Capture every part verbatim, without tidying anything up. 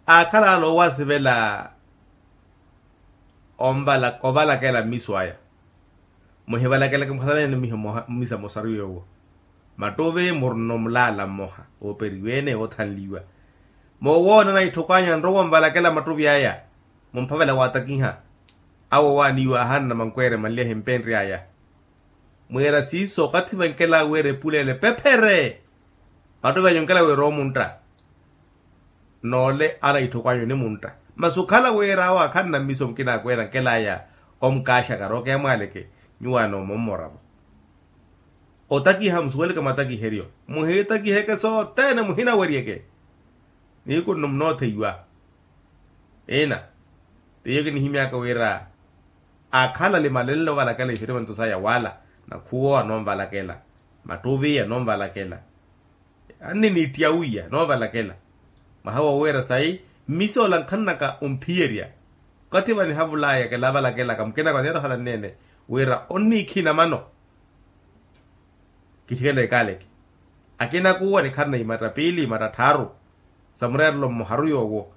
Aakhala ale owasivela ovalakela mmiso aya. Muhivalakeleke mukhalaneene mmisa mosaru yoowo. Mattuvi murina omulaala mmoha ooperiwe-ene oothanliwa. Moowoona na itthoko anyu anrowa onvalakela mattuvi aya. Mumphavela waatakiha awo owaaniwa ahanna mankweere manli ahimpenry'aya. Mwiira siiso okathi vankela wira epuleele pephere. Mattuvi anyu onkela wira omuntta. Noole ana itthoko anyu onimuntta. Masi okhala wira awo akhanna mmiso mukina akweera nkel'aya. Omukaaxaka rookeya mwaaleke. Nyuwo anoomomoravo. Otakiha musuweleke matakiheryo. Muhiitakiheke sothene muhinaweryeke. Nihiku nno munootheiwa. Ina. Tiyo kinihimyaka wira akhala ali malenle ovalakela isirimanto saya wala. Nakhuwo anoonvalakela. Mattuvi anoonvalakela. Anniniittiya wiya noovalakela. Mwaha wowiira sayi mmisoola nkhanaka omphiyerya. Okathi vanihavulaya kilavalakelaka mukinaka oneera ohala nneene wira onniikhina mano. Kitthikela ekaaleke akinakuwa nikharina imatta piili imatta tthaaru. Sa mureerelo mmoharu yoowo.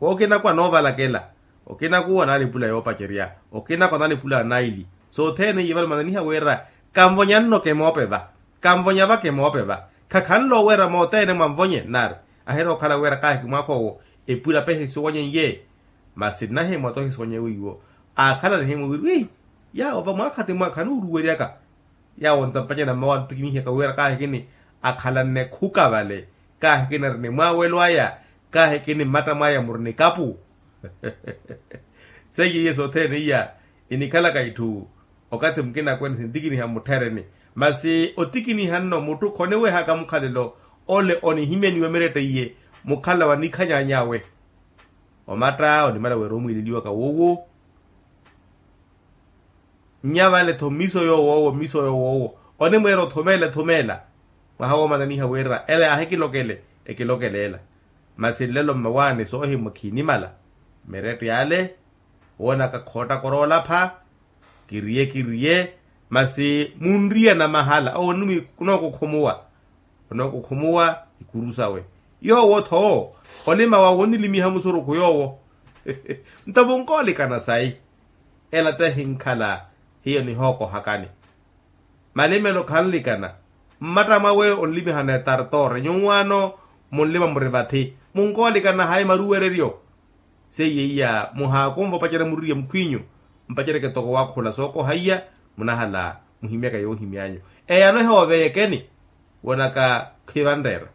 Okinakuwa noovalakela. Okinakuwa naalipula yoopacerya. Okinakuwa naalipula naili sothene iye vale mananiha wira kanvonya nno kemoopeva. Kanvonya va kemoopeva. Khakhanle oweera moothene mwanvonye nnaari. Ahirowa okhala wira kaahiki mwaakha owo epula pehe siwonye iye. Masi nnahimwa tohi siwonye wiiwo. Aakhala nihimwa wiri wi yaawo va mwaakhathi mwa khanuuruweryaka. Yaawo ntampacerya mmawa antikinihiaka wira kaahikini akhalanne khuka vale. Kaahikini ari ni mwaawelo aya. Kaahikini mmatta mwaya muri ni kapu. Seiye iye sothene iya inikhalaka itthu. Okathi mukina akwene sintikiniha mmuttheereni. Masi otikiniha nno mutthu khoniwehaka mukhalelo ole onihimyaniwa miretta iye. Mukhala wa nikhanyany'awe. Omatta onimala wira omwiileliwaka woowo. Nnya vale-tho mmiso yoowo owo mmiso yoowo owo. Onimweera othumeela ethumeela. Mwaha woomananiha wira ela yaahikilokele ekilokele ela. Masi nlelo mmawaani soohimwa khiinimala. Miretta ale woonaka khoottaka oroolapha. Kiriye kiriye. Masi munriya namahala owo onookukhumuwa. Onookukhumuwa ikuru sawe. Yoowo-tho olima wawe onilimiha musurukhu yoowo. Nto munkoolikana sayi. Ela te hinkhala hiyo nihookohakani. Malimelo khanlikana. Mmatta mwawe onlimihana etartore nyuwaano. Munlima muri vathi munkoolikana hayi maruwereryo. Seiye iya muhaakumva opacerya muririye mukhwiinyu. Mpaceryeke toko waakhula sookoha iya. Munahala muhimyaka yoohimy'anyu. Eyano ehooveyekeni. Woonaka khivanreera.